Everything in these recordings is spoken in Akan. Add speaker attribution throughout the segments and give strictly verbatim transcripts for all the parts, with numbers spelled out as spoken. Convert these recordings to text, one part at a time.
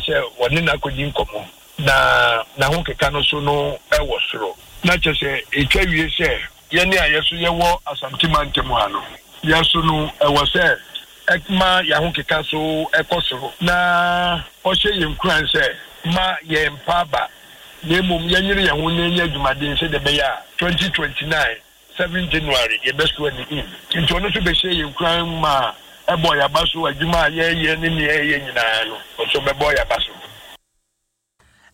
Speaker 1: Sɛ wɔne no akɔdi nkɔmmɔ na n'ahokeka no so no wɔ soro. Na kyerɛ sɛ ɛtwa wie sɛ yɛne a yɛso yɛwɔ Asante mantam ha no, yɛso no ɛwɔ sɛ ɛma yɛn ahokeka so ɛkɔ soro, na ɔhyɛ yɛn nkuran sɛ ma yɛn mpa aba, na mmom yɛnyere yɛn ho na yɛnyɛ adwumaden sɛdeɛ ɛbɛyɛ a twenty twenty-nine seven January yɛbɛso ani in. Nti ɔno nso bɛhyɛ yɛn nkuran ma ɛbɔ yɛaba so. Adwuma a yɛyɛ ne nea yɛyɛ nyinaa no, ɔso bɛbɔ yɛaba so.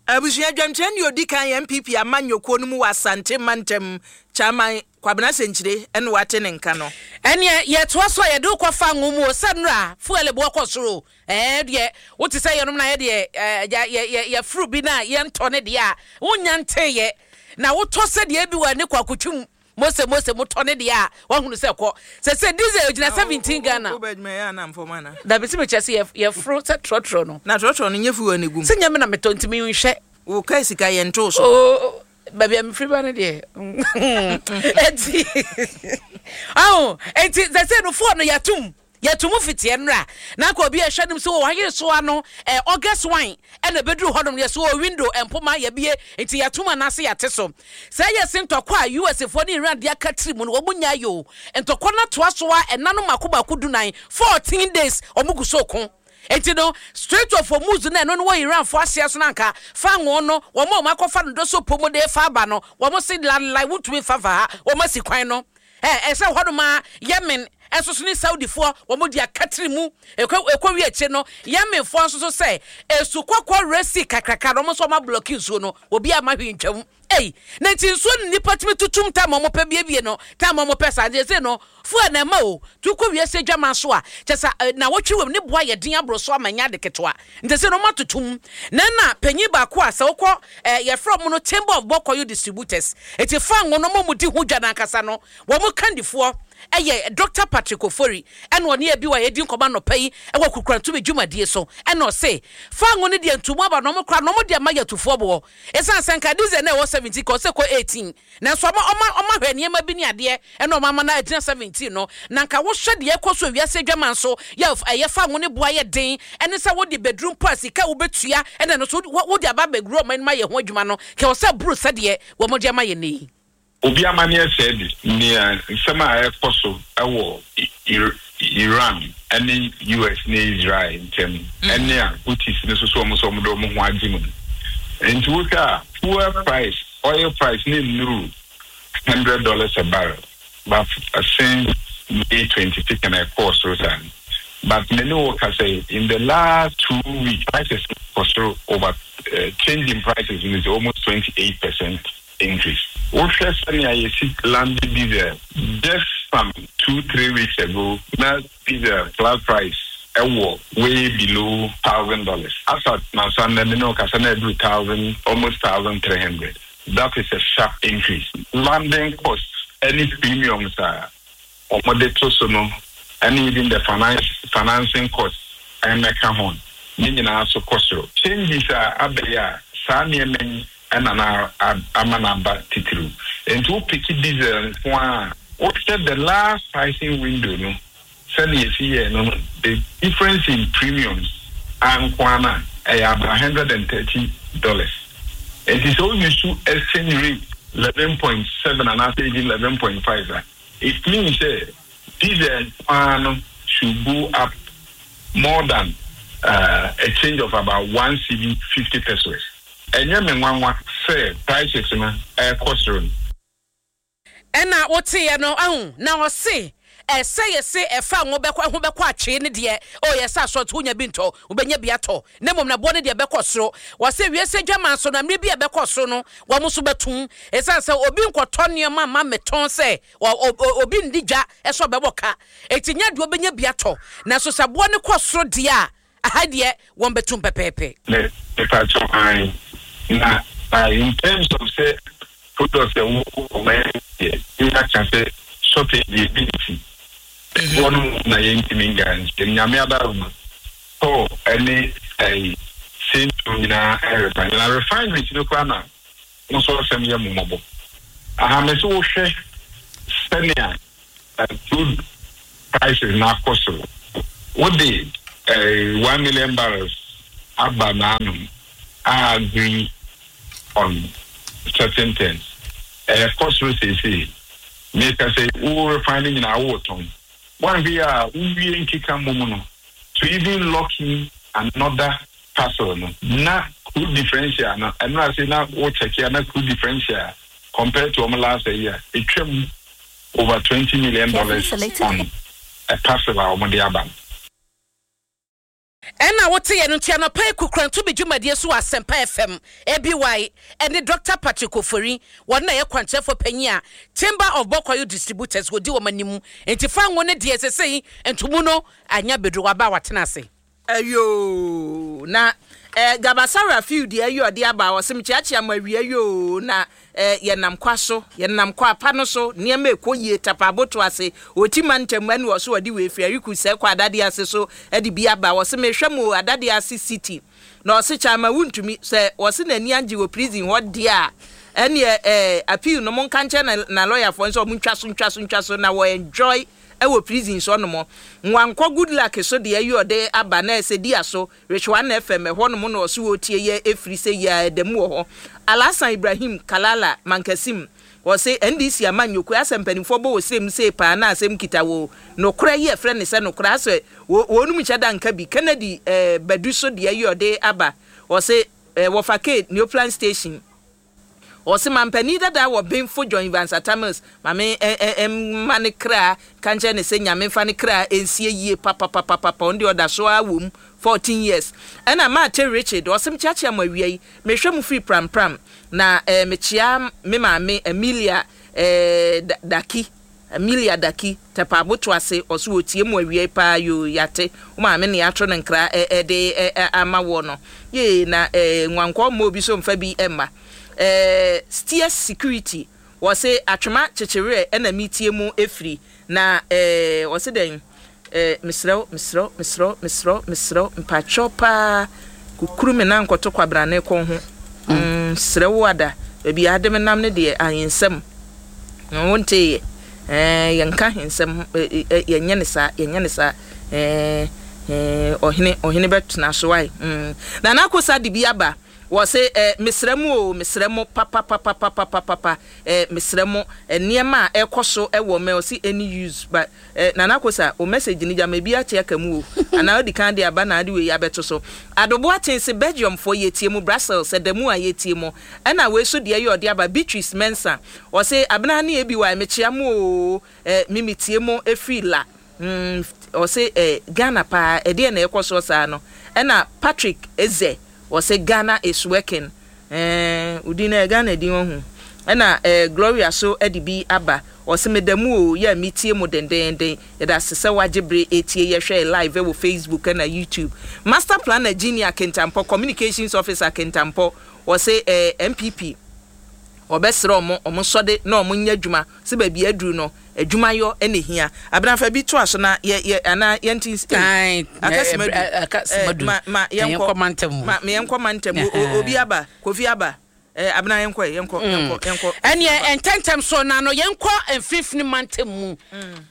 Speaker 2: Abusua dwamkyerɛ ne odi kan N P P amanyɔkuo no mu wɔ Asante mantam, Chairman Kwabena Sɛnkyire, ɛne wate ne nka no. Ɛneɛ yɛtoa so a, yɛde wokɔfa ngo mu o, sɛ nnora fuel boɔ kɔ soro. Ɛɛ deɛ wote sɛ yɛnom na yɛdeɛ ɛɛ yɛforo bi na yɛntɔ ne deɛ a wonya nteyɛ na wotɔ sɛdeɛ bi wɔ ne kɔ akotwum mose mose motɔ ne deɛ a wahunu sɛ kɔ sɛ sɛ diesel gyina seventeen Ghana. Dabi, sɛ mekyɛ sɛ yɛforo sɛ trɔtrɔ no.
Speaker 3: Na trɔtrɔ no nyɛ fuel ne gum?
Speaker 2: Sɛ nyɛ me na metɔ, ntimi nhwɛ.
Speaker 3: Wo ka sika yɛ nto so.
Speaker 2: Oh, baabi a mefiri ba no deɛ, enti aho enti sɛ sɛ no fuel no yɛatom yɛto mu fitiɛ nnora na nka obi ɛhwɛ nom sɛ wɔayere so ano ɛ August one ɛna ɛbɛduru hɔnom yɛ so wɔ window mpoma yɛbie, nti yɛtom anaasɛ yɛate so sɛ yɛ se ntɔkwa a U S foɔ ne Iran de aka tiri mu no, wɔn nya yɛ o. Ntɔkwa no atoa so a ɛna no mako baako dunan, fourteen days, wɔn gu so ko. Eti no Strait of Hormuz na ɛno no wɔ Iran fo aseɛ so na nka fango no wɔn a wɔn akɔfa no do so po mu de fa aba no, wɔn se lalai wotumi fa fa ha, wɔn asi kwan no. ɛ ɛsɛ hɔnom a Yemen ɛnso so ne Saudifoɔ wɔn de akatiri mu ekɔ ekɔ wi akyire no, Yemenfoɔ nso so sɛ esu kɔkɔɔ resi kakraka na wɔn nso wɔn ablock nsuo no, obi ama hwee ntwam. Ei, na nti nsuo no nipa tumi tutum tam a wɔn pɛ biebie no tam a wɔn pɛ saa. Nti ɛsɛ no fuel na ɛma o tu kɔ wiase adwama so a kyɛ sɛ na wɔtwe wɔm ne boa yɛ den aboro so ama nya ade ketewa. Nti sɛ no wɔn atotom na na panyin baako a sɛ wokɔ ɛɛ yɛfrɛ wɔn no Chamber of Bulk Oil Distributors, eti fango no wɔn mu di ho dwa n'ankasa no, wɔn kandifoɔ ɛyɛ Doctor Patrick Ofori, ɛna ɔne ebi wa yɛdi nkɔmɔ anɔpa yi ɛwɔ Kukurantumi dwumadie so, ɛna ɔse fango no deɛ ntumu aba na ɔmo kora na ɔmo de ama yɛ atufoɔ boɔ, ɛsiane sɛ nka diesel na ɛwɔ seventeen kɔ ɔsɛ kɔ eighteen, nanso ɔmo ɔmo ɔmo ahwɛ nneɛma bi ne adeɛ ɛna ɔmo ama no agyina seventeen no. Na nka wohwɛ deɛ ɛkɔ so wiase adwama nso yɛ ɛyɛ fango ne boa yɛ den, ɛne sɛ wode beduru mpo a sika wobɛtua ɛna no so wode aba abɛguru ɔmo anim ayɛ ho adwuma no kɛ ɔsɛ buru sɛdeɛ wɔn de ama yɛ ne yi.
Speaker 4: Obi amanneɛ sɛ de nea nsɛm a ɛkɔ so ɛwɔ Iran ne U S ne Israel ntam ɛne a Houthis ne soso ɔmo sɛ ɔmo de ɔmo ho agye mu no, nti wohwɛ a fuel price, oil price ne nnuru hundred dollars a barrel, but since May twenty second ɛkɔɔ soro saa no. But me ne wo ka sɛ in the last two weeks prices kɔ soro over uh, change in prices is almost twenty eight percent increase. Wohwɛ sɛnea yɛsi land diesel, just some two three weeks ago na diesel flat price ɛwɔ way below thousand dollars. Asa nansa nnɛ me ne wo kasa na ɛduru thousand, almost thousand three hundred. That is a sharp increase. Landing cost ɛne premiums a wɔde to so no ɛne even the finance financing cost ɛmɛka ho ne nyinaa so kɔ soro. Changes a abɛyɛ a saa nneɛma yi ɛna na ama n'aba titiriw. Nti wopick diesel nko a, wohwɛ the last pricing window no sɛnea esi yɛ no no the difference in premiums anko ana ɛyɛ about hundred and thirty dollars. Nti sɛ wouse exchange rate eleven point seven anaasɛ even eleven point five a, it means sɛ diesel nko no should go up more than uh, a change of about one cedi fifty pesewas. Ɛnyɛ me nwanwa sɛ prices no ɛkɔ soro no.
Speaker 2: Ɛna woteɛ no ahu na ɔse ɛsɛ yɛse ɛfa ngo bɛkɔ ɛho bɛkɔ atwee ne deɛ o yɛsɛ asɔɔto wonya bi ntɔ, wobɛnya bi atɔ, na mmom na boɔ no deɛ bɛkɔ soro. Wɔsɛ wiase adwama nso na mmerɛ bi a ɛbɛkɔ soro no, wɔn nso bɛtum, ɛsiane sɛ obi nkɔtɔ nneɛma ma mɛtɔn sɛ obi ndi dwa ɛsɛ ɔbɛbɔ ka, eti nya deɛ wobɛnya bi atɔ. Nanso sɛ boɔ no kɔ soro deɛ a, aha deɛ wɔn bɛtum pɛpɛɛpɛ.
Speaker 4: Ne nipa ayi na na in terms of sɛ products ɛwɔ ɔman deɛ ne aka sɛ shortage ebi nti ɛboɔ no na yɛntumi guarantee. Nyame adaroma tɔɔ ɛne ɛyi same nyinaa ɛrefine na refineries no koraa na nso asɛm yɛ mmɔbɔ ahame sɛ wohwɛ sɛnea crude prices na akɔ soro, wode ɛɛ one million barrels aba n'anom a agree on certain things. Ɛkɔ soro seesei. Meka sɛ wo refine no nyinaa wotɔn. Wanhwɛ a wowie nkeka mmom no to even lock in another parcel no na crude differential no ɛno ase na wo check ya na crude differential compared to ɔmo last year, etwam over twenty million dollars on a parcel a ɔmo de aba no.
Speaker 2: Ɛna wote yɛ no nti anɔpa yi Kukuranto bi dwumadie so wɔ Asɛmpa F M A B Y ɛne Doctor Patrick Ofori. Wɔn na yɛ kwankyerɛfoɔ panyin a Chamber of Bulk Oil Distributors wɔdi wɔn anim, nti fa ngo ne deɛ sese yi ntomu no anya bedro waba a watena ase.
Speaker 3: Ayo, na eh, Gabasara field ayi ɔde aba, ɔsɛm kyeakyea mo awia yoo, na eh, yɛnam kwa so, yɛnam kwa apa no so, nneɛma ɛkɔ yie. Tapa aboto ase ɔti ma ntam ɛne ɔso ɔde wei firi ariku sɛ kɔ Adade ase so ɛde bi aba. Ɔsɛ mehwɛ mu Adade ase city na ɔse kyama wuntumi sɛ ɔse n'ani agye wɔ prison hɔ deɛ a, ɛneɛ eh, appeal no monka nkyɛn na, na lɔyafoɔ nso ɔmo ntwa so, ntwa so, ntwa so na wɔ enjoy ɛwɔ prison so ɔnom. Nwankɔ Good Luck so deɛ ɛyɛ ɔde aba na ɛsɛ di aso Rehwana F M ɛhɔ nom na ɔso wɔtie yɛ efiri sɛ yɛ ɛdɛm wɔ hɔ. Alasan Ibrahim Kalala Mankasim, wɔse N D C ama nyokue asɛ mpanimfoɔ bɔ wɔ srem sei paa na asɛm kita wɔ nokorɛ yi ɛfrɛ ne sɛ nokorɛ asɛ wɔnum nhyɛ da nka bi. Kennedy ɛɛ Badu so deɛ ɛyɛ ɔde aba, wɔse ɛɛ wɔfa K Neoplan Station, ɔsɛ mampanin dada wɔ Benfo John Evans Atta Mills, maame ɛ ɛ mma ne kra ka nkyɛn ne sɛ Nyame fa ne kra nsie yie papapapapa. Ɔno deɛ ɔda so ara wɔ mu fourteen years. Ɛna Maate Richard ɔsɛm kyeakyea mo awia yi, mehwɛ mo firi Prampram na ɛɛ mekyea me maame Amelia ɛɛ Daki, Amelia Daki Tɛpa Aboto ase, ɔso wɔtie mu awia yi paa. Yo, yate wo maame ne ato ne nkra ɛde ɛ ama wɔ no yee na ɛɛ nwankɔ mma obi so mfa bi ɛmma ɛɛ Steers Security. Wɔse Atwema Kyekyereɛ ɛna metie mu efiri na ɛɛ wɔse dɛn ɛɛ mesrɛw, mesrɛw, mesrɛw, mesrɛw, mesrɛw, mpatwɛw paa, kukuru me nan nkɔto kwabrane kɔn ho. mm srɛ wo ada baabi a ade me nam ne deɛ ahensɛm wonteeɛ ɛɛ yɛnka ahensɛm, ɛɛ yɛnyɛ ne saa, yɛnyɛ ne saa. ɛɛ ɛɛ ɔhene ɔhene bɛtena so ayi mm Nana Akosa de bi aba, wɔse ɛɛ mesrɛ mu o, mesrɛ mo papapapapapapa, ɛɛ mesrɛ mo, nneɛma a ɛkɔ so ɛwɔ mɛ ɔsi any use but ɛɛ Nana Akosa o, message ni gyama ebi ate aka mu o, anaa odi kan de aba na ade wei abɛto so. Adobo Atense Belgium foɔ, yɛtie mu Brussels ɛda mu a yɛtie mu. Ɛna wei so deɛ yɛ ɔde aba, Beatrice Mensa, ɔse abena ne ebi wa mekyia mu o, ɛɛ mimi tie mu efiri la mm ɔse ɛɛ Ghana paa, ɛdeɛ na ɛkɔ so saa no. Ɛna Patrick Eze ɔse Ghana is working. ɛɛ odin na Ghana din ɔho. Ɛna ɛɛ Gloria so ɛde bi aba, ɔse meda mu o, yɛ mi tie mu dendenden, yɛda ase sɛ wagye bere etie yɛhwɛ live ɛwɔ Facebook ɛna YouTube. Master Planner Junior Kentampɔ, communications officer Kentampɔ, ɔse ɛɛ N P P ɔbɛsrɛ ɔmo ɔmo nsɔde na ɔmo nyɛ adwuma sɛ baabi aduru no adwumayɔ ɛna ehia. Abenafa bi to aso na yɛ yɛ anaa yɛnti
Speaker 2: akasima
Speaker 3: du ma ma yɛnkɔ
Speaker 2: mantam mu.
Speaker 3: Ma yɛnkɔ mantam. Obi aba, Kofi aba. ɛɛ abena yɛnkɔ, yɛnkɔ, yɛnkɔ, yɛnkɔ.
Speaker 2: Ɛneɛ ntɛntɛm so na no yɛnkɔ Mfimfini mantam mu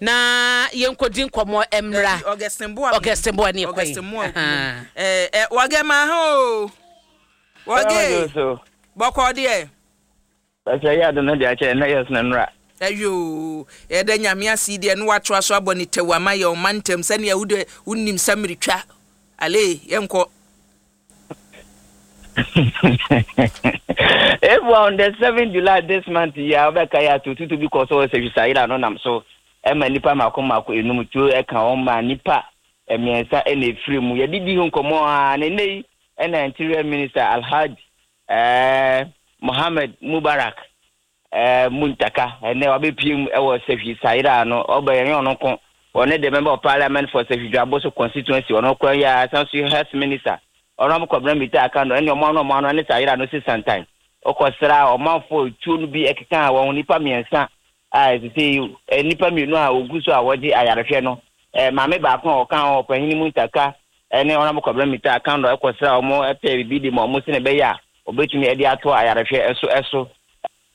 Speaker 2: na yɛnkɔ di nkɔmɔ mmra.
Speaker 3: Augustin Boa.
Speaker 2: Augustin Boa ne yɛkɔ yi.
Speaker 3: Augustin Boa. ɛɛ ɛ wɔgɛ ma ho wɔgɛ bɔkɔ deɛ.
Speaker 5: Pàṣẹ yɛ adi no de akyɛ ɛnɛ yɛ sinɛ nura.
Speaker 3: Ayo, yɛda Nyame ase deɛ no watoa so abɔ ne tɛw ama yɛ ɔma ntɛm sɛnea wode wonim sɛ mmeretwa ale yɛnkɔ.
Speaker 5: If on the seven July this month yi a wɔbɛka yɛ ato tutu bi kɔ so wɔ Sɛhwi Sayera no nam so ɛma nipa mako mako enum tuo ɛka wɔn ma nipa mmiɛnsa ɛna efiri mu. Yɛde di ho nkɔmɔ a ne nne yi ɛna Interior Minister Alhaji ɛɛ Mohammed Mubarak ɛɛ Muntaka ɛnɛ wabɛpie mu ɛwɔ Sɛhwi Sayera no. Ɔbɛ yɛn ɔno ko ɔne the member of parliament for Sɛhwi Dwaboso constituency, ɔno kora yɛ asan so health minister ɔno abɛkɔ mita aka no ɛne ɔmo ano ɔmo ano ɛne Sayera no si santan ɔkɔsra ɔmanfoɔ tuo no bi ɛkeka wɔn nipa mmiɛnsa a ɛsese nipa mmienu a ogu so a wɔgye ayarehwɛ no. ɛɛ maame baako a ɔka ho ɔpanyin Muntaka ɛne ɔno abɛkɔ mita aka no ɛkɔsra ɔmo ɛpɛ bibi de ma ɔmo sene bɛyɛ a ɔbɛtumi ɛde ato ayarehwɛ ɛso ɛso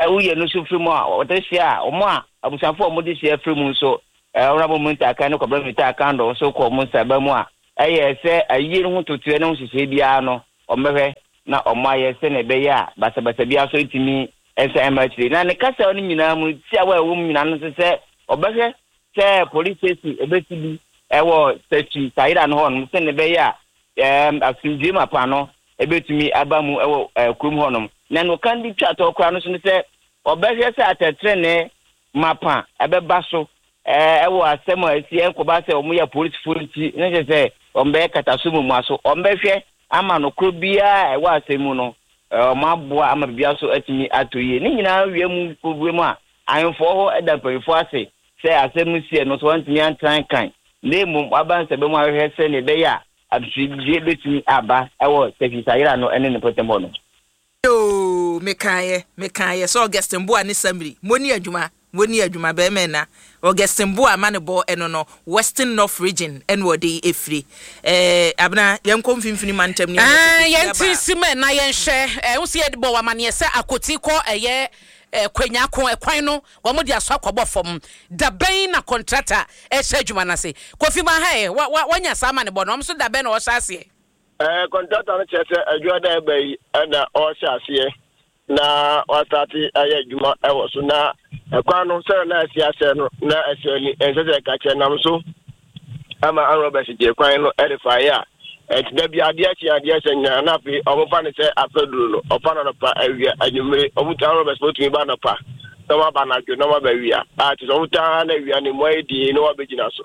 Speaker 5: ɛwoyɛ no nso firi mu a ɔde hyia a ɔmo a abusuafoɔ a ɔmo de hyia firi mu nso ɛɛ ɔno abɔ Muntaka ne Kɔbɛn mita aka no nso kɔ ɔmo nsaba mu a Ɛyɛ sɛ ayie no ho totoɛ ne ho nhyehyɛe biara no, wɔbɛhwɛ na wɔayɛ sɛnea ɛbɛyɛ a basabasa biara nso ntumi nsan mma akyire. Na ne kasa no nyinaa mu no, tiawa a ɛwɔ mu nyinaa no nso sɛ ɔbɛhwɛ sɛ police station ɛbɛsi bi ɛwɔ Sɛkyi Sayera no hɔnom sɛnea ɛbɛyɛ a ɛɛm asomdwoe mapa no ɛbɛtumi aba mu ɛwɔ ɛɛ kurom hɔnom. Na nea ɔka de twa toɔ koraa no nso ne sɛ ɔbɛhwɛ sɛ atɛtrenee mapa ɛbɛba so ɛɛ wɔ asɛm a ɛsi ɛnkɔba sɛ wɔyɛ apolisifo nti na kyerɛ sɛ wɔbɛyɛ kataso mmuaso. Wɔbɛhwɛ ama nokorɛ biara a ɛwɔ asɛm mu no wɔaboa ama biribiara so atumi atɔ yie. Ne nyinaa wie mu wie mu a, ahemfoɔ hɔ da mpanyinfoɔ ase sɛ asɛm no siiɛ no nso wɔantumi antena nkan na mmom wɔaba nsɛbɛ mu ahwehwɛ sɛdeɛ ɛbɛyɛ a asomdwoeɛ bɛtumi aba wɔ Sɛhwisayera no ne ne mpɔtam hɔ no.
Speaker 3: Yoo mekaeɛ mekaeɛ sɛ Augustine Boah ne Samiri moni adwuma moni adwuma bɛɛma ɛna Augustine Boah ma ne bɔ ɛno no Western North Region ɛna ɔde ɛfiri ɛɛ Abena yɛnkɔ mfimfini mantam ne yɛnyɛ
Speaker 2: Ɛɛ
Speaker 3: sɛ
Speaker 2: yɛn
Speaker 3: Kofi
Speaker 2: ti
Speaker 3: aba.
Speaker 2: si mu na yɛnhwɛ ɛɛ wosi yɛde bɔ wamaneɛ sɛ Akoti kɔ ɛyɛ ɛɛ Kwanyako ɛkwan no wɔn de aso akɔbɔ fam. Dabɛn na kɔntrata ɛhyɛ adwuma n'ase? Kofi ma ha ɛ wa wa wanya saa ama ne bɔ no, wɔn nso dabɛn na ɔhyɛ aseɛ?
Speaker 1: Ɛɛ kɔntrata no kyerɛ sɛ adwuma da ɛba yi ɛna ɔrehyɛ aseɛ na wasate ayɛ adwuma ɛwɔ so, na ɛkwan no sɛ na asi asɛ no na ɛsɛ ani ɛnsɛ sɛ ɛka kyerɛ nam so ama anrɔbɛs gye kwan no ɛde faeɛ a ɛnti da bi adeɛ kye adeɛ sɛ nyinaa na afei ɔmofa ne sɛ afɛduro no ɔfa no anɔpa, awia, anwummere. Ɔmo anrɔbɛs bɛtumi ba anɔpa na ɔmo aba anadwo na ɔmo aba awia a kyerɛ sɛ ɔmo taa na awia ne mu ayɛ din na wɔabɛgyina so.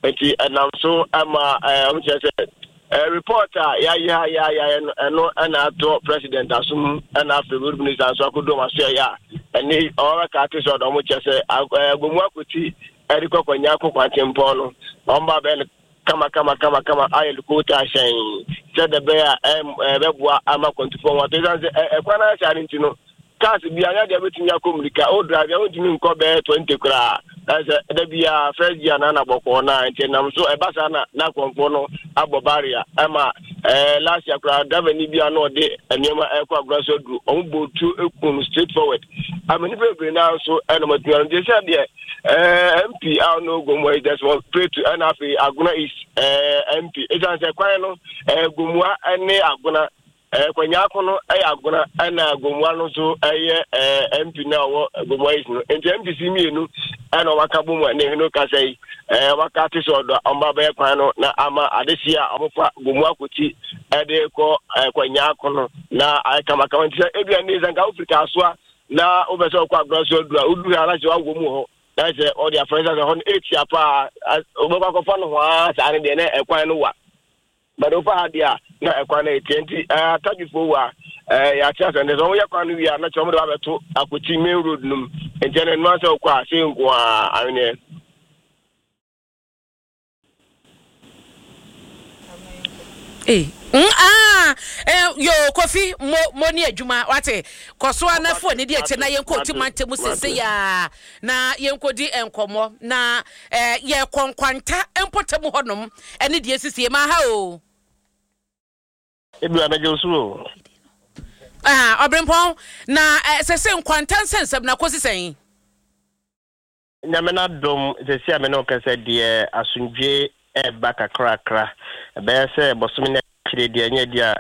Speaker 1: Nti ɛnam so ama ɛɛ ɔmo kyerɛ sɛ ɛɛ report a yɛayɛ a yɛayɛ no ɛno ɛna atɔ president asom, ɛna afei road minister nso akɔdu ɔmo aso. Ɛyɛ a ɛne ɔbɛka ate sɛ ɔdɔ ɔmo kyerɛ sɛ ɛɛ Gomu Akoti ɛde kɔ Kwanya kɔ kwantempɔn no, ɔmo ba bɛyɛ no kama kama kama kama ayɛ coal tar hyɛn sɛ de bɛyɛ a ɛbɛboa ama kwantufoɔ ho ato, ɛsiane sɛ ɛkwan no ahyɛ ade nti no, cars bi anya deɛ bɛtumi akɔ mmirika o drive a wontumi nkɔ bɛyɛ twenty koraa. Ɛsɛ da biara first gear na na bɔkɔɔ na nti nam so ɛba saa na na akɔmfoɔ no abɔ barrier ɛma ɛɛ last year koraa, driver ni bi a na ɔde nneɛma ɛkɔ agorɔ so aduru, ɔmo bɔ tuo ekum no straight forward ama nipa bebree naa nso ɛna ɔmo atumi ano. Nti sɛ deɛ ɛɛ M P a ɔno Gomua yi Desmond Pretu, ɛna afei Agona East ɛɛ M P, esan sɛ kwan no ɛɛ Gomua ɛne Agona ɛɛ Kwanyako no ɛyɛ Agona, ɛna Gomua no nso ɛyɛ ɛɛ M P na ɔwɔ Gomua East no. Nti M P si mmienu ɛna ɔmo aka bom a ne hwene kasa yi ɛɛ ɔmo aka ate sɛ ɔdɔ ɔmo abɛyɛ kwan no na ama adehyia a ɔmo fa Gomua Akoti ɛde kɔ ɛɛ Kwanyako no na ayɛ kamakama. Nti sɛ ebia ne sɛ nka wofiri Kasoa na wopɛ sɛ ɔkɔ Agona so aduru a, woduru ha na sɛ wawɔ mu hɔ na sɛ ɔde afɛn sɛ hɔ no etia paa, wobɛkɔ akɔfa no hɔ a saa ne deɛ na ɛkwan no wa bɛde wofa ha deɛ a na ɛkwan no etia. Nti ɛɛ atadwifoɔ wɔ a ɛɛ yɛate asɛn sɛ wɔyɛ kwan no wie a na kyerɛ wɔn de abɛto Akoti main road no mu. Nti ɛno ɛno asɛ wokɔ a sɛ nko a aweneɛ.
Speaker 2: Ee, mm, ah, eh, yo Kofi, mo mo ni adwuma wate. Kɔ so anafo ani di akyire na yɛnkɔ Oti mantam mu sese ya na yɛnkɔdi nkɔmmɔ na eh, yɛkɔ Nkwanta mpɔtam hɔnom ɛne deɛ sisi ma ha o.
Speaker 6: Ebi abɛgye wo so o.
Speaker 2: Ah, ɔbrempɔn na eh, sese Nkwanta nsɛnsɛm na kɔsi sɛn?
Speaker 6: Nyame no adom, sɛsi a me ne wo kasa deɛ, asomdwe ɛɛba kakrakra. Ɛbɛyɛ sɛ bɔsome no akyire deɛ ɛnyɛ deɛ a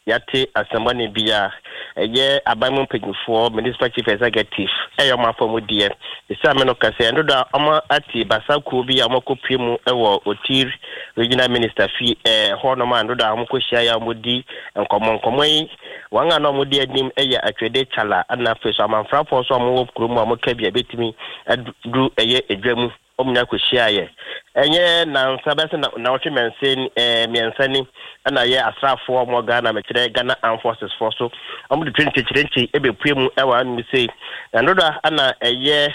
Speaker 6: yɛate asɛmmɔne bi a ɛyɛ aban mu mpanyinfoɔ, municipal chief executive ɛyɛ ɔmo afɔ mu deɛ. Sɛsi a me no kasa ɛno do a ɔmo ate basa kuo bi a ɔmo akɔpue mu ɛwɔ Otir regional minister fi ɛɛ hɔnom a ɛno do a ɔmo kɔhyia yɛ a ɔmo di nkɔmmɔ. Nkɔmmɔ yi, wɔn a na ɔmo di anim ɛyɛ Atwede Kyala, ɛna afei so amanfrafoɔ nso a ɔmo wɔ kurom a ɔmo ka bi a ebetumi aduru ɛyɛ edwa mu. Ɔmo nyinaa kɔhyia yɛ ɛnyɛ nansa bɛsɛ na nawɔtwe mmiɛnsa ɛɛ mmiɛnsa ni, ɛna yɛ asraafoɔ a ɔmo Ghana, mɛkyerɛ Ghana Armed Forces foɔ so, ɔmo de twenty ɛbɛpue mu ɛwɔ anum sei na ndodo ɛna ɛyɛ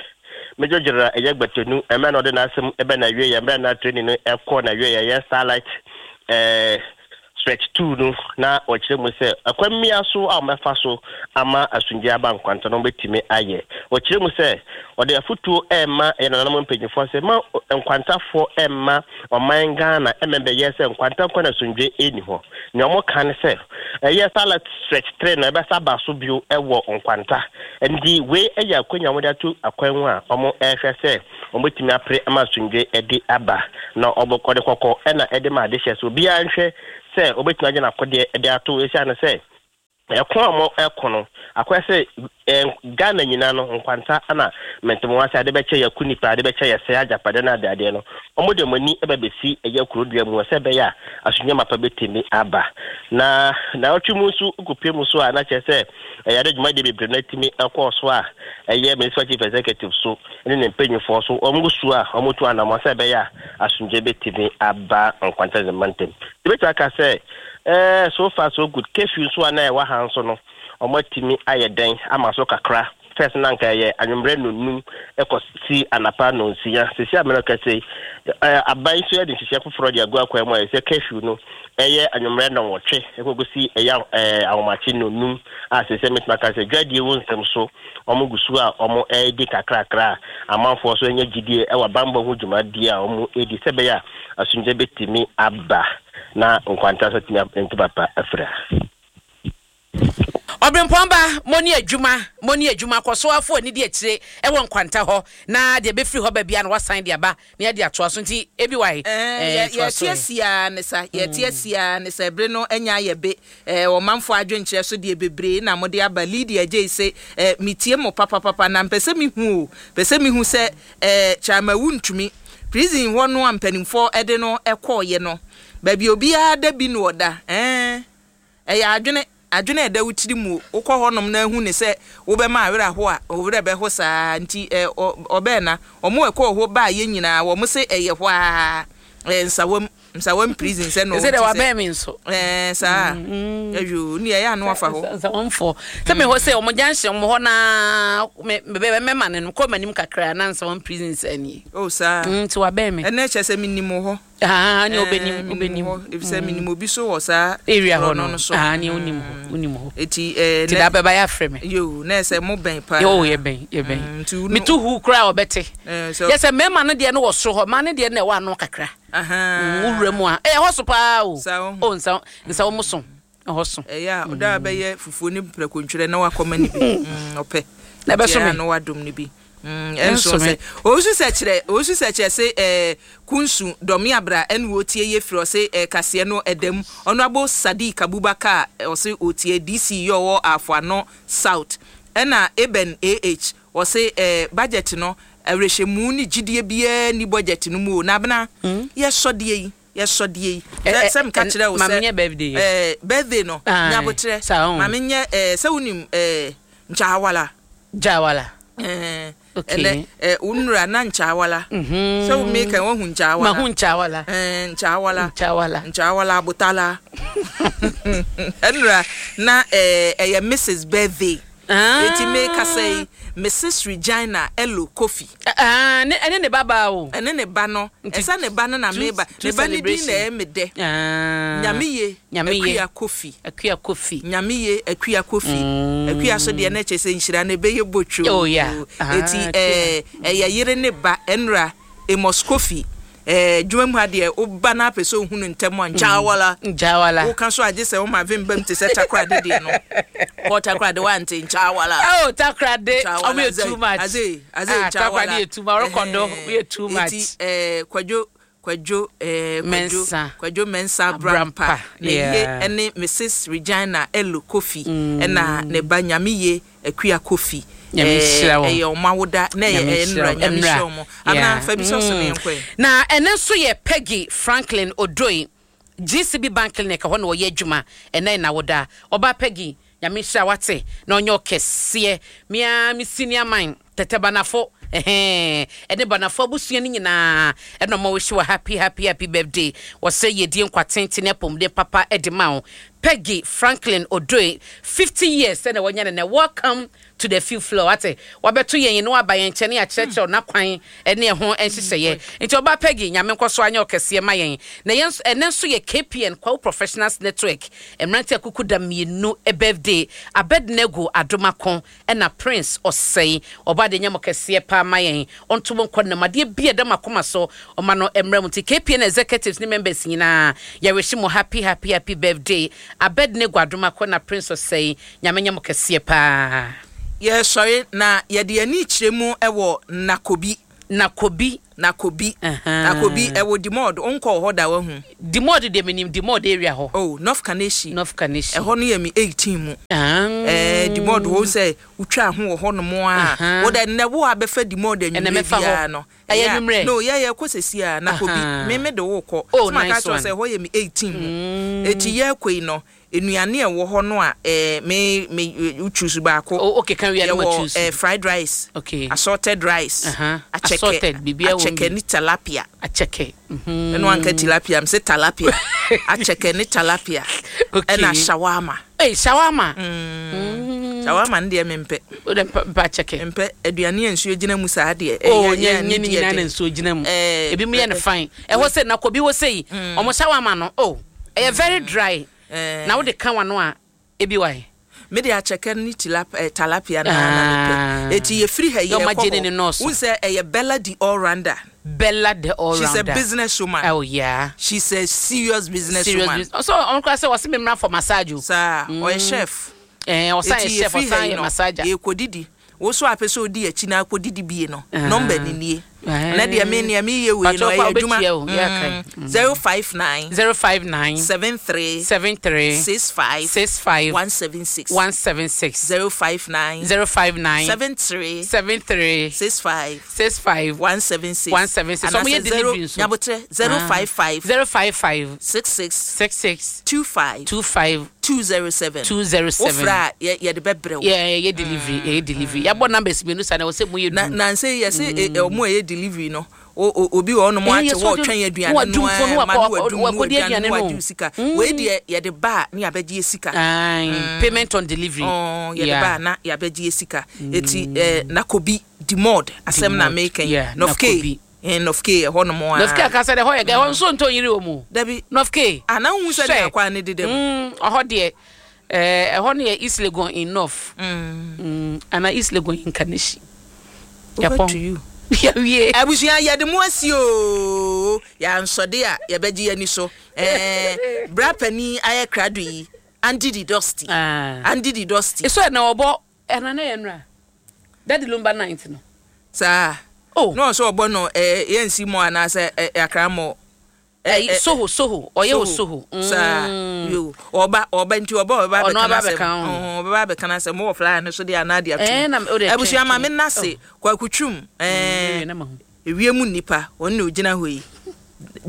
Speaker 6: Major General ɛyɛ Gbatenu ɛmɛ na ɔde n'asɛm ɛbɛ na awie yɛ mmerɛ na training no ɛkɔ na awie yɛ ɛyɛ Starlight ɛɛ Stretch two no, na ɔkyerɛ mu sɛ ɛkwan mmea so a wɔbɛfa so ama asomdwe aba Nkwanta no wɔbɛtumi ayɛ. Ɔkyerɛ mu sɛ ɔde afotuo ɛrema ɛyɛ nananom mpanyinfoɔ sɛ ma Nkwantafoɔ ɛmma ɔman Ghana ɛmɛ bɛyɛ sɛ Nkwanta nkwa na asomdwe ɛni hɔ. Nea wɔn ka ne sɛ ɛyɛ Starlight Stretch three na ɛbɛsa aba so bio ɛwɔ Nkwanta, nti wei ɛyɛ akonnwa a wɔde ato akwan mu a wɔn ɛrehwɛ sɛ Wɔbɛtumi apere ama asomdwe de aba na ɔbɛkɔ de kɔkɔ ɛna ɛde ma adehyɛ so obiara nhwɛ sɛ obɛtumi agye n'akodeɛ de ato esiane sɛ ɛko a mo ɛko no akɔyɛ sɛ ɛɛ Ghana nyinaa no nkwanta ana mɛntɛmɔ ase ade bɛkyɛ yɛ ku nipa ade bɛkyɛ yɛ sɛ agyapade no adeadeɛ no wɔn de wɔn ani ɛbɛ bɛsi ɛyɛ kurodua mu sɛ ɛbɛyɛ a asomdwe mapa bɛtumi aba na na ɔtwe mu nso kɔpie mu so a na kyerɛ sɛ ɛyɛ ade dwumadie bebree no atumi ɛkɔɔ so a ɛyɛ municipal chief executive so ne ne mpanyinfoɔ so wɔn gu so a wɔn tu anamɔ sɛ ɛbɛyɛ a asomdwe bɛtumi aba nkwanta ne mantam ebɛtumi aka sɛ ɛɛ so far so good. Curfew nso a na ɛwɔ ha nso no wɔn atumi ayɛ dɛn ama so kakra. First na nka ɛyɛ anwummerɛ nonum ɛkɔ si anapa nonsia. Sisi amena kɛse ɛɛ aban nso yɛde nhyehyɛ foforɔ de agu akwan mu a yɛsɛ curfew no ɛyɛ anwummerɛ nɔnwɔtwe ɛkɔkɔ si ɛyɛ ɛɛ ahomakye nonum a sisi mɛtuma ka sɛ dwadie wo nsɛm so wɔn gu so a wɔn ɛredi kakrakra a amanfoɔ nso anya gyidie ɛwɔ bambɔ ho dwumadie a wɔn redi sɛ ɛbɛyɛ a asomdwe bɛtumi aba na nkwanta nso tumi nto papa afira.
Speaker 2: Ɔbrempɔn mo ne adwuma mo ne adwuma kɔ so afo ani di akyire ɛwɔ nkwanta hɔ na deɛ bɛfiri hɔ baabi a na wasan de aba na yɛde atoa so nti ebi wae.
Speaker 3: Yɛte asia ne sa yɛte asia ne sa ebere no anya ayɛ be ɔmanfo adwenkyerɛ so deɛ bebree na mode aba. Lydia gye sɛ metie mo papapapa na mpɛ sɛ mehu o pɛ sɛ mehu sɛ Chairman Wontumi prison hɔ no a mpanimfoɔ ɛde no ɛkɔɔyɛ no baabi obiara da bi no ɔda ɛɛ ɛyɛ adwene adwene ɛda wo tiri mu wokɔ hɔnom na ahu ne sɛ wobɛma awerɛ aho a ɔwerɛ bɛho saa nti ɔbɛn na ɔmo ɛkɔɔ hɔ baa yɛ nyinaa wɔn se ɛyɛ hɔ a ɛɛ Nsawam Nsawam prison sɛ no
Speaker 2: sɛ de wabɛn mi nso
Speaker 3: ɛɛ saa ɛyo ni ɛyɛ ano afa hɔ
Speaker 2: Nsawamfoɔ sɛ mi hɔ sɛ ɔmo junction ɔmo hɔ naa mɛ mɛ mɛma ne no kɔ m'anim kakra na Nsawam prison sɛ nie.
Speaker 3: O saa
Speaker 2: nti wabɛn mi.
Speaker 3: Ɛnɛ kyɛ sɛ mi nim hɔ.
Speaker 2: Ah, ne obenim obenim
Speaker 3: efisɛ minim obi so wɔ saa
Speaker 2: area hɔ no so. Ah, ne onim hɔ onim hɔ.
Speaker 3: Eti ɛɛ
Speaker 2: ti da bɛba yɛ afrɛ me.
Speaker 3: Yo, na ɛsɛ mo bɛn paa.
Speaker 2: Yo, yɛ bɛn yɛ bɛn metu hu koraa ɔbɛte yɛ sɛ mmarima no deɛ no wɔ soro hɔ mmaa no deɛ no ɛwɔ ano kakra wowura mu a ɛyɛ hɔ so paa o o nsa nsa wɔn so ɛhɔ so.
Speaker 3: Ɛyɛ a ɔda bɛyɛ fufuo ne prɛkontwerɛ na wakɔma ne bi ɔpɛ
Speaker 2: na ɛbɛso me
Speaker 3: na wadom ne bi ɛnso sɛ owusu sɛ kyerɛ owusu sɛ kyerɛ sɛ ɛɛ kunsu dɔmi abra ɛna wotie yɛ firi ɔsɛ ɛɛ kaseɛ no ɛdɛm Honourable Sadiq Abubakar ɔsɛ otie D C yɛ ɔwɔ Afoano South ɛna Eben ah ɔsɛ ɛɛ budget no awerɛhyɛmu ne gyidie biara ni budget no mu o na abena yɛsɔ deɛ yi yɛsɔ deɛ yi sɛ meka kyerɛ wo sɛ
Speaker 2: maame nyɛ birthday.
Speaker 3: Ɛɛ birthday no nyabotrɛ maame nyɛ ɛɛ sɛ wonim ɛɛ nkyawala.
Speaker 2: Jawala.
Speaker 3: Ɛɛ ɛnɛ ɛ wonura na nkyawala sɛ wo meka woahu nkyawala.
Speaker 2: Mahu nkyawala.
Speaker 3: Ɛɛ nkyawala.
Speaker 2: Nkyawala.
Speaker 3: Nkyawala abotala ɛnura na ɛɛ ɛyɛ Missus birthday eti meka sɛ Missus Regina Elo Kofi.
Speaker 2: Ɛne ne ba baa o.
Speaker 3: Ɛne ne ba no ɛsɛ ne ba no na meba ne ba ne din na ɛyɛ me dɛ. Nyameye Akua Kofi.
Speaker 2: Akua Kofi.
Speaker 3: Nyameye Akua Kofi. Akua so deɛ na kyerɛ sɛ nhyira no ɛbɛyɛ botwo.
Speaker 2: Oh yeah.
Speaker 3: Eti ɛɛ ɛyɛ yere ne ba ɛnura Amos Kofi. Ɛɛ dwuma mu ha deɛ woba na apɛ sɛ ohunu ntɛm a nkyawala.
Speaker 2: Nkyawala.
Speaker 3: Woka so agye sɛ woma vim bam te sɛ Takoradi deɛ no. Kɔ Takoradi wante nkyawala.
Speaker 2: Oh, Takoradi ɔmo yɛ too much.
Speaker 3: Aze aze nkyawala.
Speaker 2: Takoradi yɛ too much. Ɔrekɔdo yɛ too much.
Speaker 3: Eti ɛɛ Kwadwo Kwadwo ɛɛ Kwadwo Kwadwo Mensa
Speaker 2: Abrampa
Speaker 3: ne ye ɛne Missus Regina Elo Kofi ɛna ne ba Nyameye Akua Kofi.
Speaker 2: Nyame nhyira wɔn.
Speaker 3: Ɛyɛ ɔmo awoda na ɛyɛ ɛyɛ nnura Nyame nhyira wɔn. Abena fa bi sɔ so ne yɛn kɔ yi.
Speaker 2: Na ɛno nso yɛ Peggy Franklin Odoi G C B Bank Clinic hɔ na ɔyɛ adwuma ɛnɛ na woda. Ɔbaa Peggy, Nyame nhyira wate na ɔnyɛ ɔkɛseɛ. Mea me senior man Tɛtɛ Banafo ɛhɛn ɛne Banafo abusua no nyinaa ɛna ɔma wɔhyɛ wɔ happy happy happy birthday. Wɔsɛ yɛdie nkwa tenten apɔmuden papa ɛde ma wo Peggy Franklin Odoi fifty years ɛna wɔnyɛ ne nɛ. Welcome to the fifth floor ate wabɛto yɛn no aba yɛn nkyɛn ne akyerɛkyerɛw n'akwan ɛne ɛho nhyehyɛeɛ nti ɔbaa Peggy, Nyame nkɔ so anyɛ ɔkɛseɛ ma yɛn. Na yɛn ɛnɛ nso yɛ K P N Kwawu Professionals Network mmerante akuku da mmienu birthday, Abednego Adomako ɛna Prince Ɔsɛe. Ɔbaa de nyɛ mo kɛseɛ paa ma yɛn ɔnto mo nkɔ nam adeɛ bi a ɛda mo akoma so ɔma no mmerɛ mu nti K P N executives ne members nyinaa yɛrehye mo happy happy happy birthday, Abednego Adomako na Prince Ɔsɛe. Nyame nyɛ mo kɛseɛ paa.
Speaker 3: Yɛsɔre na yɛde ani kyerɛ mu wɔ Nakobi.
Speaker 2: Nakobi.
Speaker 3: Nakobi. Nakobi ɛwɔ Dimɔd, wonkɔɔ hɔ da wahu?
Speaker 2: Dimɔd deɛ menim Dimɔd area hɔ.
Speaker 3: Oh, North Kaneshie.
Speaker 2: North Kaneshie.
Speaker 3: Ɛhɔ no yɛ me eighteen mu. Ɛɛ Dimɔd hɔ sɛ wotwa ho wɔ hɔ nom a, wo dɛ nnɛ wo a bɛfa Dimɔd anwummerɛ biara no.
Speaker 2: Ɛyɛ anwummerɛ?
Speaker 3: No, yɛ yɛ kɔ sɛsi a, Nakobi, me me de wo kɔ.
Speaker 2: Oh,
Speaker 3: Sɛ maka
Speaker 2: nice
Speaker 3: kyerɛ wo
Speaker 2: one.
Speaker 3: sɛ ɛhɔ yɛ me eighteen mu. Eti yɛkɔ yi no, nnuane a ɛwɔ hɔ no a, eh, me me wo choose baako.
Speaker 2: Oh, okay, kan wia no ma
Speaker 3: Yɛwɔ
Speaker 2: choose.
Speaker 3: eh, fried rice.
Speaker 2: Okay.
Speaker 3: Assorted rice.
Speaker 2: Uh-huh.
Speaker 3: Akyɛkɛ.
Speaker 2: Assorted, biribiara wɔ mu
Speaker 3: Akyɛkɛ
Speaker 2: bi.
Speaker 3: ne tilapia.
Speaker 2: Akyɛkɛ. Mhm.
Speaker 3: Ɛno anka tilapia, mse tilapia. Akyɛkɛ ne tilapia.
Speaker 2: Okay.
Speaker 3: Ɛna shawarma.
Speaker 2: Hey, shawarma.
Speaker 3: Mm. Shawarma no deɛ mempɛ.
Speaker 2: Wo de mpa mpa akyɛkɛ.
Speaker 3: Mpɛ aduane a nsuo gyina mu saa deɛ.
Speaker 2: Oh,
Speaker 3: Ɛyɛ
Speaker 2: nyɛ
Speaker 3: yɛ
Speaker 2: nyɛ
Speaker 3: ne
Speaker 2: ne
Speaker 3: deɛ
Speaker 2: nyinaa na
Speaker 3: den.
Speaker 2: nsuo gyina mu.
Speaker 3: Eh,
Speaker 2: Ebi mu yɛ no
Speaker 3: eh,
Speaker 2: fine. Ɛhɔ sɛ Nakobi wɔ sɛ yi, ɔmo shawarma no, oh, ɛyɛ very dry.
Speaker 3: Eh.
Speaker 2: Na wode ka wano a, ebi wa yi.
Speaker 3: Me de akyɛkɛ ne tilap eh, tilapia na na
Speaker 2: Ah.
Speaker 3: mepɛ. Eti yɛfiri ha yi
Speaker 2: Yɛ ɔma
Speaker 3: yɛkɔ
Speaker 2: gye ne
Speaker 3: hɔ.
Speaker 2: ne nɔɔso.
Speaker 3: Wohu sɛ ɛyɛ Bella the all rounder.
Speaker 2: Bella the all
Speaker 3: She's a
Speaker 2: rounder.
Speaker 3: business woman.
Speaker 2: Oh yeah.
Speaker 3: She's a serious business
Speaker 2: Serious
Speaker 3: woman.
Speaker 2: business. So ɔno koraa sɛ wɔse me mmra for massage o.
Speaker 3: Saa, ɔyɛ chef.
Speaker 2: Eh, ɔsan yɛ
Speaker 3: Eti
Speaker 2: chef,
Speaker 3: yɛfiri ha
Speaker 2: ɔsan
Speaker 3: yi
Speaker 2: yɛ
Speaker 3: no,
Speaker 2: massager.
Speaker 3: yɛkɔdidi. Wo so apɛ sɛ odi akyi na akɔdidi bie no,
Speaker 2: Ah.
Speaker 3: number ni nie.
Speaker 2: Eh.
Speaker 3: Na deɛ me nea meyɛ wei no
Speaker 2: Patrɔ
Speaker 3: ɛyɛ
Speaker 2: kɔ a
Speaker 3: adwuma.
Speaker 2: wobɛtua o, yɛ aka.
Speaker 3: Mm. Zero five nine.
Speaker 2: Zero five nine.
Speaker 3: Seven three.
Speaker 2: Seven three.
Speaker 3: Six five.
Speaker 2: Six five.
Speaker 3: One seven six.
Speaker 2: One seven six.
Speaker 3: Zero five nine.
Speaker 2: Zero five nine.
Speaker 3: Seven three.
Speaker 2: Seven three.
Speaker 3: Six five.
Speaker 2: Six five.
Speaker 3: One seven six.
Speaker 2: One seven six.
Speaker 3: Anaasɛ
Speaker 2: Ɔmo yɛ
Speaker 3: zero
Speaker 2: delivery nso.
Speaker 3: Nyabotrɛ zero
Speaker 2: Ah.
Speaker 3: five five.
Speaker 2: Zero five five.
Speaker 3: Six six.
Speaker 2: Six six.
Speaker 3: Two five.
Speaker 2: Two five.
Speaker 3: Two zero seven.
Speaker 2: Two zero seven.
Speaker 3: Wofra a yɛ yɛde bɛbrɛ wo.
Speaker 2: Yɛ yɛ delivery, yɛ delivery. Yɛabɔ numbers mmienu sa na ɛwɔ sɛ mo yɛ
Speaker 3: Na
Speaker 2: du.
Speaker 3: na nsɛ yɛsɛ ɛ- ɛ, ɔmo a ɛyɛ delivery no, o- o- obi wɔ hɔnom
Speaker 2: Eh,
Speaker 3: ate
Speaker 2: yɛ
Speaker 3: hɔ
Speaker 2: sɛ
Speaker 3: ɔtwɛn aduane
Speaker 2: wadum
Speaker 3: no
Speaker 2: fo no
Speaker 3: a, ma no
Speaker 2: wakɔ-
Speaker 3: wadum no
Speaker 2: wakɔdi
Speaker 3: aduane
Speaker 2: aduane
Speaker 3: no
Speaker 2: no.
Speaker 3: wagye wo sika. Wei deɛ yɛde ba a ne yɛabɛgye sika.
Speaker 2: Aye, payment on delivery.
Speaker 3: Ɔɔ, yɛde
Speaker 2: Yeah.
Speaker 3: ba a na yɛabɛgye sika. Eti eh, Nakobi Dimod asɛm na
Speaker 2: Dimod,
Speaker 3: meka yi.
Speaker 2: yeah,
Speaker 3: North K.
Speaker 2: Nakobi.
Speaker 3: Eh, North K ɛhɔ nom a.
Speaker 2: North K akasa dɛ hɔ yɛ gɛ hɔ nso ntɔ yiri wɔ mu.
Speaker 3: Dabi.
Speaker 2: North K.
Speaker 3: Ah, na wohu sɛ
Speaker 2: Hwɛ.
Speaker 3: deɛ akwa ne deda mu.
Speaker 2: Mm, ɔhɔ deɛ ɛɛ ɛhɔ no yɛ East Legon in North. Mm. Ana East Legon in Kaneshie.
Speaker 3: Over
Speaker 2: Yɛpɔn.
Speaker 3: to you.
Speaker 2: Yɛwie.
Speaker 3: Abusua yɛde mo asi o, yɛansɔde a yɛbɛgye yɛni so. Ɛɛ, bra panin ayɛ krado yi, Andy the Dusty.
Speaker 2: Ah.
Speaker 3: Andy the Dusty.
Speaker 2: Eso ɛna ɔbɔ ɛna ne yɛ nura. Daddy Lumba ninth no.
Speaker 3: Saa.
Speaker 2: Oh.
Speaker 3: Na ɔsɛ ɔbɔ no ɛɛ yɛnsi mu anaasɛ ɛ Accra mɔ.
Speaker 2: Ɛyi Soho Soho ɔyɛ wɔ Soho.
Speaker 3: Saa.
Speaker 2: Mm.
Speaker 3: Yo, ɔba ɔba nti ɔba ɔba
Speaker 2: Ɔno
Speaker 3: abɛka
Speaker 2: aba
Speaker 3: n'asɛm.
Speaker 2: abɛka ho.
Speaker 3: Ɔhɔn, ɔbɛba abɛka n'asɛm. Mowɔ flyer no so de anaa de ato.
Speaker 2: Ɛɛ, na o de
Speaker 3: Abusua
Speaker 2: twɛn,
Speaker 3: ma me
Speaker 2: twɛn.
Speaker 3: nase Kwaku Twum. Ɛɛ,
Speaker 2: Mm, na ma ho.
Speaker 3: ewiem nipa ɔno na ogyina hɔ yi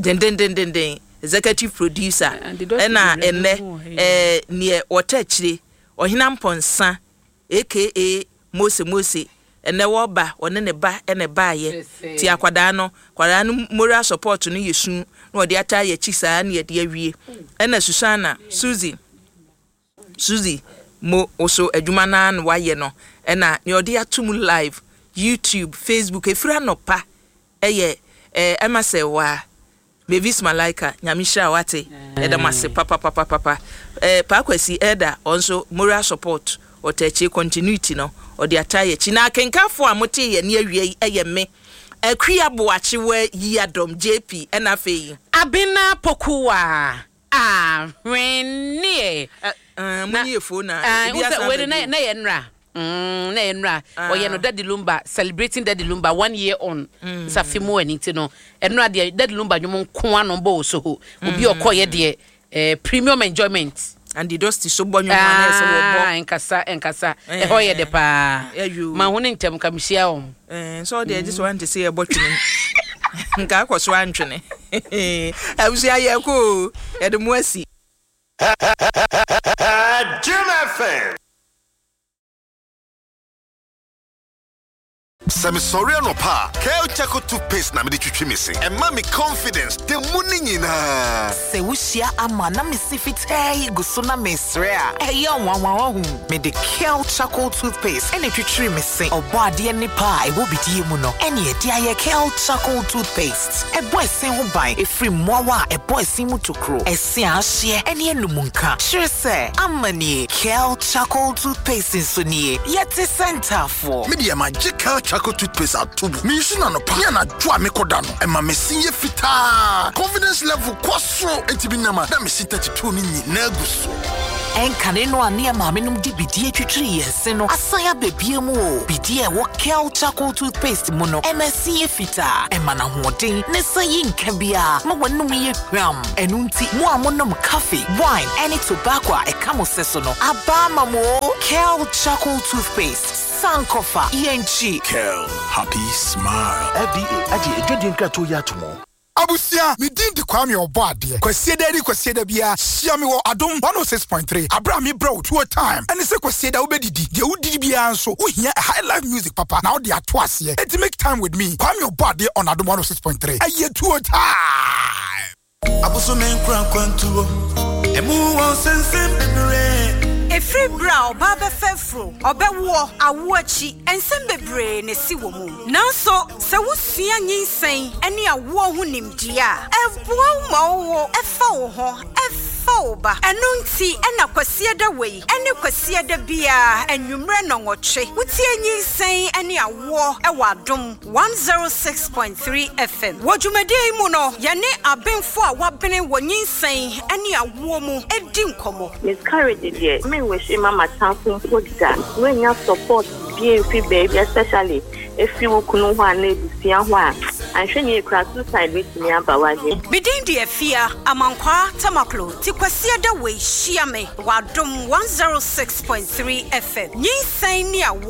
Speaker 3: dendendendenden, executive producer.
Speaker 2: Andy Dusty
Speaker 3: ɛna
Speaker 2: bebree
Speaker 3: ɛnɛ
Speaker 2: no wɔ ha yi.
Speaker 3: ɛɛ neɛ wɔtɛ akyire Ɔhena Mpɔnsa aka Mose Mose, ɛnɛ wɔba ɔne ne ba ɛna baayɛ
Speaker 2: Sɛsɛ.
Speaker 3: ti akwadaa no akwadaa no moral support no yɛ su na ɔde ata yɛ akyi saa na yɛde awie. Ɛna Susana Suzy Suzy mo woso adwuma naa na wayɛ no, ɛna nea ɔde ato mu live YouTube, Facebook efiri anɔpa ɛyɛ ɛɛ ɛma sɛ waa Mavis Malaika, Nyame hyira wate, ɛda mo ase papapapapa. Ɛɛ Paakwasi ɛda ɔnso moral support ɔtɛ akyire continuity no ɔde ata yɛ akyi. Na akenkanfoɔ a mote yɛ ne awia yi ɛyɛ me Akua Boakyewa yi Adɔm J P, ɛna afei
Speaker 2: Abena Pokuwa. Ahwenneɛ.
Speaker 3: Ɛ ɛɛ mo ni efo na
Speaker 2: Ah,
Speaker 3: ebi
Speaker 2: wo sɛ
Speaker 3: asan
Speaker 2: wei no
Speaker 3: ba
Speaker 2: na
Speaker 3: bio.
Speaker 2: na yɛ nnra. Mm, na yɛ nnra.
Speaker 3: Ah.
Speaker 2: Ɔyɛ no Daddy Lumba, celebrating Daddy Lumba one year on. Nsafi mu ani nti no. Ɛnora deɛ Daddy Lumba nnwom nko ano bɔ wɔ Soho. Obi a ɔkɔɔyɛ deɛ eh, premium enjoyment.
Speaker 3: Andy Dusty so bɔ nnwom a na ɛsɛ wɔbɔ.
Speaker 2: Ah, nkasa nkasa.
Speaker 3: Eh.
Speaker 2: Ɛhɔ yɛ de paa.
Speaker 3: Ɛyò.
Speaker 2: Ma ho ne ntɛm ka mehyia wɔn.
Speaker 3: Ɛɛ sɛ ɔde agye sɛ wante sɛ yɛbɔ twene mu nka akɔ so antwene. Abusua yɛ kɔ o, yɛde mo asi.
Speaker 7: Jim F M.
Speaker 8: Sɛ mesɔre anɔpa a, Kel Charcoal toothpaste na mede twitwi me se. Ɛma me confidence da mu ne nyinaa.
Speaker 9: Sɛ wohyia ama na mesi fitaa yi gu so na mesrɛ a ɛyɛ nwanwa wahu mede Kel Charcoal toothpaste ɛna twitwiri me se. Ɔbɔ adeɛ nipa a ɛwɔ bidie mu no ɛne ɛde ayɛ Kel Charcoal toothpaste. Ɛbɔ ɛsen ho ban ɛfiri mmoawa a ɛbɔ ɛsen mu tokuro, ɛse a ahyeɛ ɛne anum nka kyerɛ sɛ ama nie. Kel Charcoal toothpaste nso nie, yɛte sɛ ntaafoɔ.
Speaker 8: Medeɛ magye Kel Charcoal toothpaste ato mu. Mensu no anɔpa ne anadwo a mekɔda no, ɛma me se yɛ fitaa, confidence level kɔ soro, enti bi nam a na mese thirty-two no nyinaa gu so.
Speaker 9: Ɛnkane no a ne yɛ maamenom de bidie twitwiri yɛn se no asan aba bie mu o. Bidie a ɛwɔ Kel Charcoal Toothpaste mu no, ɛma ɛse yɛ fitaa, ɛma no ahoɔden, ne sa yi nka biara ma w'anom yɛ hwam. Ɛno nti, mo a monom coffee, wine, ɛne tobacco a ɛka mo sɛ so no, aba ama mo o. Kel Charcoal Toothpaste, Sankofa, yɛnkyi.
Speaker 8: Kel, happy smile.
Speaker 10: F D A agye adwadie nkratoɔ yi ato mu.
Speaker 11: Abusua, me din de Kwame Ɔbɔ Adeɛ. Kwasieda ne Kwasieda biara, hyia me wɔ Adom one oh six point three aberɛ a mebrɛ wo Tuo Time. Ɛne sɛ Kwasieda wobɛdidi deɛ, wodidi biara nso wohia a high life music papa na wode ato aseɛ. Enti make time with me, Kwame Ɔbɔ Adeɛ, on Adom one oh six point three. Ɛyɛ Tuo Time.
Speaker 12: Abosome nkura kwantuo ɛmu wɔ nsɛnsɛm bebree.
Speaker 13: Ɛfiri berɛ a ɔbaa bɛfa afuro, ɔbɛwoɔ, awo akyi, nsɛm bebree na ɛsi wɔ mu. Nanso sɛ wosua nyinsɛn ne awoɔ ho nimdeɛ a, ɛboa wo ma wowo ɛfa wo ho ɛfa wo ba. Ɛno nti ɛna Kwasiada wei ɛne Kwasiada biara anwummerɛ nɔnwɔtwe wotie nyinsɛn ne awoɔ ɛwɔ Adom one oh six point three F M. Wɔ dwumadie yi mu no, yɛne abenfo a wabene wɔ nyinsɛn ne awoɔ mu edi nkɔmmɔ.
Speaker 14: Miscarriage deɛ, menwɛhye ma m'atamfo mpo da. Woanya support bi mfi baabi, especially efi wo kunu hɔ a na ebusua hɔ a, anhwɛ ne ekura suicide betumi aba w'adwene.
Speaker 13: Medin de Afia Amankwaa Tamaklo. Ti Kwasiada wei hyia me wɔ Adom one oh six point three F M, nyinsɛn ne awoɔ.